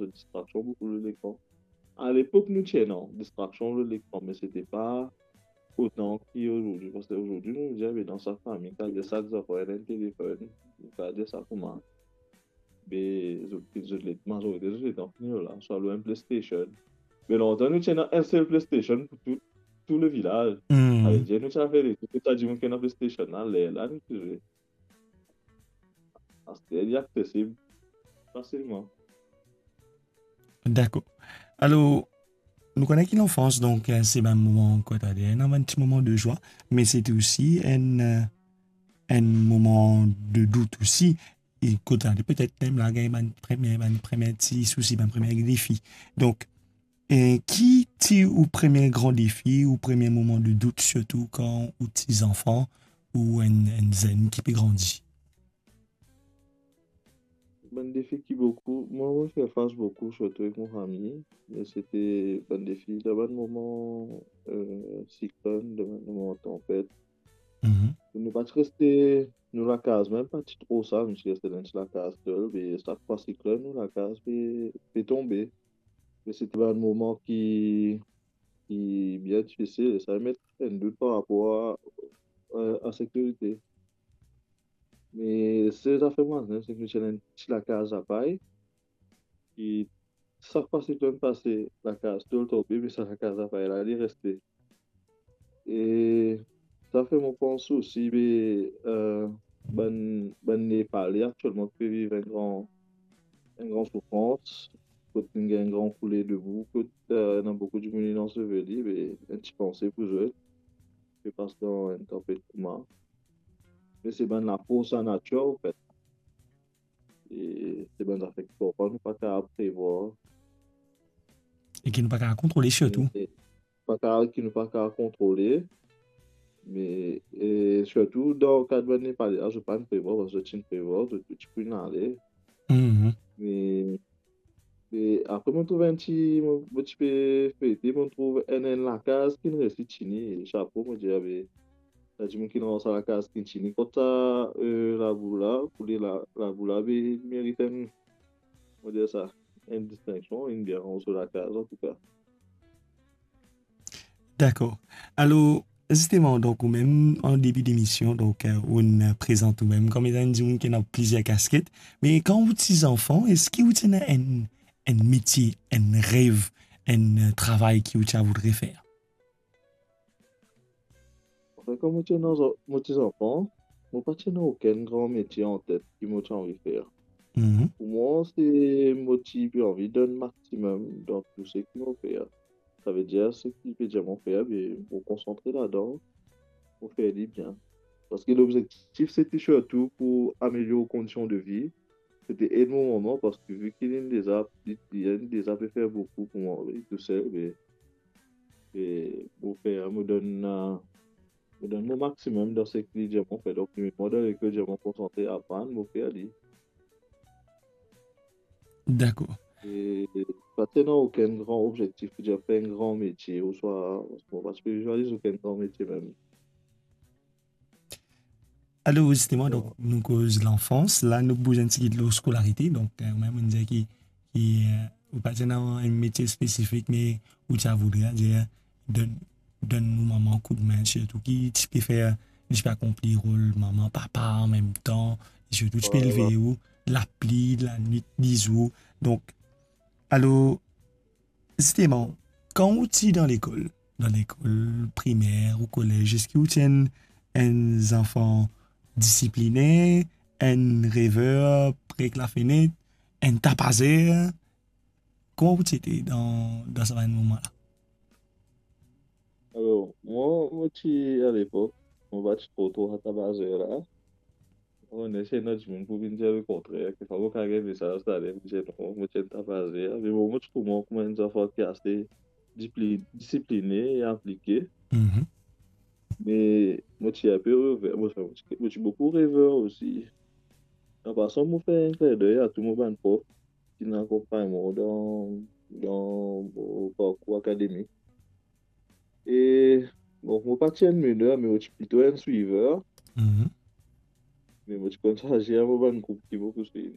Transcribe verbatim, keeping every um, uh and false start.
zot distraksion boukou lor lekran. Alepok nou ti ena distraksion lor lekran, me se ti pa otan ki azordi, parski azordi nou dir, be, dan sak fami, kapav dir sak zanfan ena enn telefonn, kapav dir sa kouma. Be, zot, zot le, mazorite zot letan fini lor la, swa lor enn PlayStation. Me lontan nou ti ena enn sel PlayStation pou tou, tou levilaz. Hmm. Savedir nou ti al fer letou, tou sa dimoun ki ena PlayStation la, lerla nou ti zwe. Aster li aksesib fasilman. Dakor. Alor, nou kone ki lanfans, donk, eh, se bann moman, kouma to dir, ena bann ti moman de zwa, me se ti osi enn, eh, enn moman de dout osi. E kouma to dir, petet mem la gagn bann premie, bann premie ti sousi, bann premie defi. Donk, eh, ki ti ou premie gran defi, ou premie moman de dout, sirtou kan ou ti zanfan, ou enn, enn zenn ki pe grandi? Bann defi ki boukou, mwa, mo fer fas boukou, sirtou avek mo fami, me se ti bann defi dan bann moman, eh, siklonn, dan bann moman tanpet. Mhm. Nou pa ti reste nou lakaz, mem pa ti tro sa, nou ti reste dan enn ti lakaz tol, be sak fwa siklonn, nou lakaz pe, pe tonbe. Me se ti bann moman ki, ki bien difisil, e sa met enn dout par rapor a, eh, a sekirite. Me sel zafer mwa, se ki nou ti ena enn ti lakaz lapay, ki sak fwa siklonn pase, lakaz tonbe, me sa lakaz lapay la, li reste. E sa fer mo pans osi, be, eh, bann, bann Nepale aktielman pe viv enn gran, enn gran soufrans, kot inn gagn enn gran koule debou, kot, eh, ena boukou dimoun inn anseveli, be, enn ti panse pou zot, pe pas dan enn tanpet kouma. Me se bann lafors lanatir, anfet. E se bann zafer ki parfwa nou pa kapav prevwar. E ki nou pa kapav kontrole sirtou. E pa kapav, ki nou pa kapav kontrole. Me, e sirtou dan kad bann Nepale la, zot pa'nn prevwar, parski zot ti'nn prevwar, zot, zot ti pou inn ale. Mhm. Me, me apre mo trouv enn ti, mo, mo ti pe fete, mo trouv enn, enn lakaz ki'nn resi tini, e sapo, mo dir, abe, sa dimoun ki dan sa lakaz ki'nn tini kot sa, eh, labou la, koule la, labou la, be, li merit enn, mo dir sa, enn distinksion, enn bien so lakaz, antouka. Dakor. Alor, zisteman, donk, ou mem, an debi demision, donk, eh, ou'nn prezant ou mem kouma enn dimoun ki ena plizier kasket, me kan ou ti zanfan, eski ou ti ena enn, enn metie, enn rev, enn, eh, travay ki ou ti a voudre fer? Anfin, kan mo ti ena, mo ti zanfan, mo pa ti ena okenn gran metie antet ki mo ti anvi fer. Mhm. Pou mwa, se mo ti pe anvi donn maximum dan tou seki mo fer. Savedir, seki pe dir mo fer, be, mo konsantre ladan, mo fer li bien. Parski lobzektif, se ti sirtou pou amelior kondision de vi, se ti ed mo mama, parski vi ki li'nn deza, li, li'nn deza pe fer boukou pou mwa, li tousel, be, e mo fer, mo donn, eh, mo donn mo maximum dan seki li dir mo fer. Donk, li met mwa dan leker, dir mo konsantre, aprann, mo fer li. Dakor. E pa ti ena okenn gran obzektif pou dir fer enn gran metie, ouswa, mo pa ti pe vizualiz okenn gran metie mem. Alor, zisteman, donk, nou koz lanfans, la, nou bouz enn tigit lor skolarite, donk, eh, ou mem, ou dir ki, ki, eh, ou pa ti ena enn metie spesifik, me ou ti a voudre, dir, donn, donn nou mama koudme, sirtou ki ti pe fer, ti pe akonpli rol mama, papa anmemtan, sirtou ti pe elve ou, lapli, lanwit, lizour. Donk, alor, zisteman, kan ou ti dan lekol, dan lekol primer ou kolez, eski ou ti enn, enn zanfan disipline, enn rever, pre ek lafenet, enn tapazer? Kouma ou ti ete dan, dan sa bann moman la? Alor, mwa, mo ti, alepok, mo pa ti tro, tro sa tapazer la. Mo konn ena dimoun pou vinn dir lekontrer. Kekfwa mo kapav gagn mesaz tale, mo dir non, mo ti enn tapazer. Me bon, mo ti trouv mwa kouma enn zanfan ki ase dipli-, disipline e aplike. Mhm. Me mo ti inpe rever, mo, mo ti, mo ti boukou rever osi. An pasan, mo fer enn klindey a tou mo bann prof ki inn akonpagn mwa dan, dan mo parkour akademik. E, bon, mo pa ti enn mener, me mo ti plito enn swiver. Mhm. Me mo ti konn swazir mo bann group ki mo pou swiv.